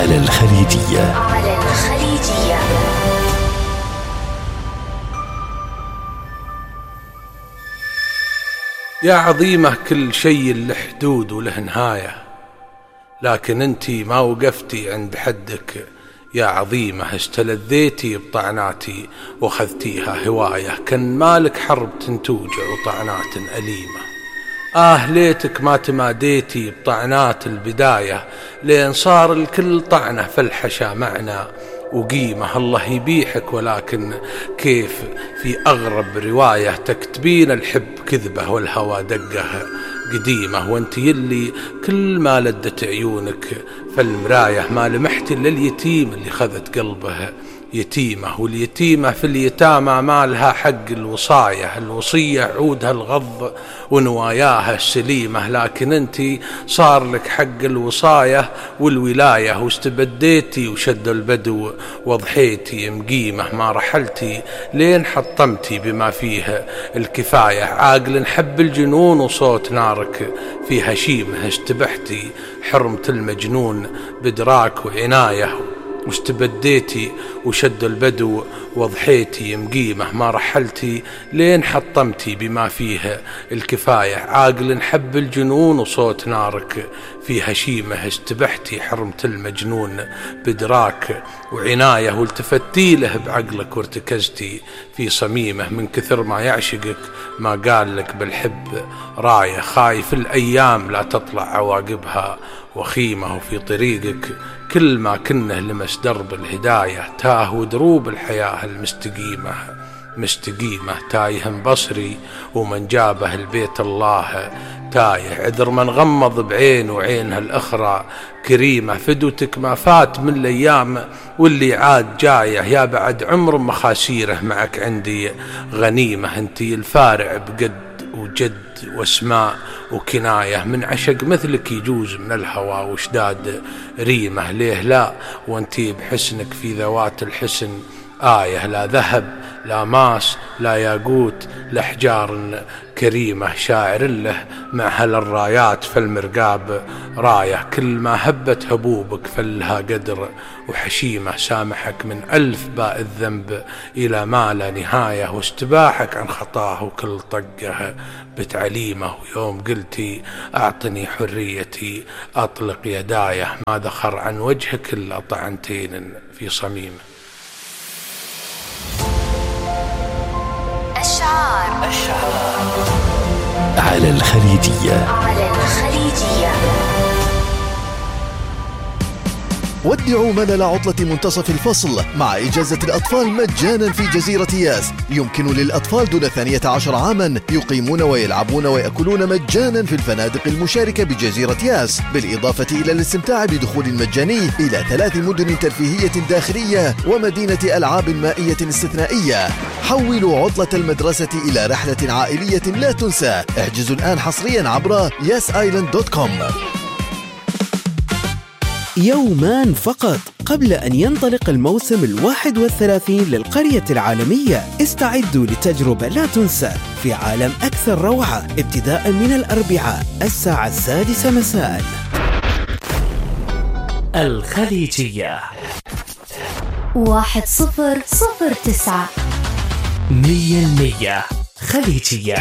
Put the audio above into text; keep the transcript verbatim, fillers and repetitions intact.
على الخليجية. على الخليجية. يا عظيمة كل شيء له حدود وله نهاية، لكن انتي ما وقفتي عند حدك يا عظيمة. استلذيتي بطعناتي واخذتيها هواية، كان مالك حرب تنتوجع وطعنات أليمة. آه ليتك ما تماديتي بطعنات البداية، لين صار الكل طعنة فالحشا معنا وقيمة. الله يبيحك، ولكن كيف في أغرب رواية تكتبين الحب كذبة والهوى دقه قديمة، وانت يلي كل ما لدت عيونك فالمراية ما لمحت إلا اليتيم اللي خذت قلبه يتيمة. واليتيمة في اليتامى ما لها حق الوصاية، الوصية عودها الغض ونواياها السليمة، لكن انتي صار لك حق الوصاية والولاية، واستبديتي وشد البدو وضحيتي مقيمة. ما رحلتي لين حطمتي بما فيه الكفاية، عاقل حب الجنون وصوت نارك في هشيمه. استبحتي حرمة المجنون بدراك وعناية، واستبديتي وشد البدو وضحيتي مقيمة. ما رحلتي لين حطمتي بما فيه الكفاية، عاقل حب الجنون وصوت نارك في هشيمه. استبحتي حرمة المجنون بدراك وعناية، والتفتي له بعقلك وارتكزتي في صميمه. من كثر ما يعشقك ما قال لك بالحب راية، خايف الأيام لا تطلع عواقبها وخيمة. وفي طريقك كل ما كنه لمس درب الهداية، تاه ودروب الحياة المستقيمة مستقيمة. تايه بصري ومن جابه البيت الله تايه، عذر من غمض بعين وعينها الأخرى كريمة. فدوتك ما فات من الأيام واللي عاد جايه، يا بعد عمر مخاسيره معك عندي غنيمة. انتي الفارع بقد وجد واسماء وكناية، من عشق مثلك يجوز من الهوى وشداد ريمة. ليه لا وانتي بحسنك في ذوات الحسن آية، لا ذهب لا ماس لا ياقوت لأحجار كريمة. شاعر له مع هل الرايات فالمرقاب راية، كل ما هبت هبوبك فلها قدر وحشيمة. سامحك من ألف باء الذنب إلى ما لا نهاية، واستباحك عن خطاه وكل طقه بتعليمه. ويوم قلتي أعطني حريتي أطلق يدايه، ما ذخر عن وجهك إلا طعنتين في صميمه. أشعار على الخليجية. على الخليجية. ودعوا ملل عطلة منتصف الفصل مع إجازة الأطفال مجانا في جزيرة ياس. يمكن للأطفال دون ثانية عشر عاما يقيمون ويلعبون ويأكلون مجانا في الفنادق المشاركة بجزيرة ياس، بالإضافة إلى الاستمتاع بدخول مجاني إلى ثلاث مدن ترفيهية داخلية ومدينة ألعاب مائية استثنائية. حولوا عطلة المدرسة إلى رحلة عائلية لا تنسى. احجزوا الآن حصريا عبر ياس آيلاند دوت كوم. يومان فقط قبل أن ينطلق الموسم الواحد والثلاثين للقرية العالمية. استعدوا لتجربة لا تنسى في عالم أكثر روعة، ابتداء من الأربعاء الساعة السادسة مساء. الخليجية واحد صفر صفر تسعة مية المية خليجية.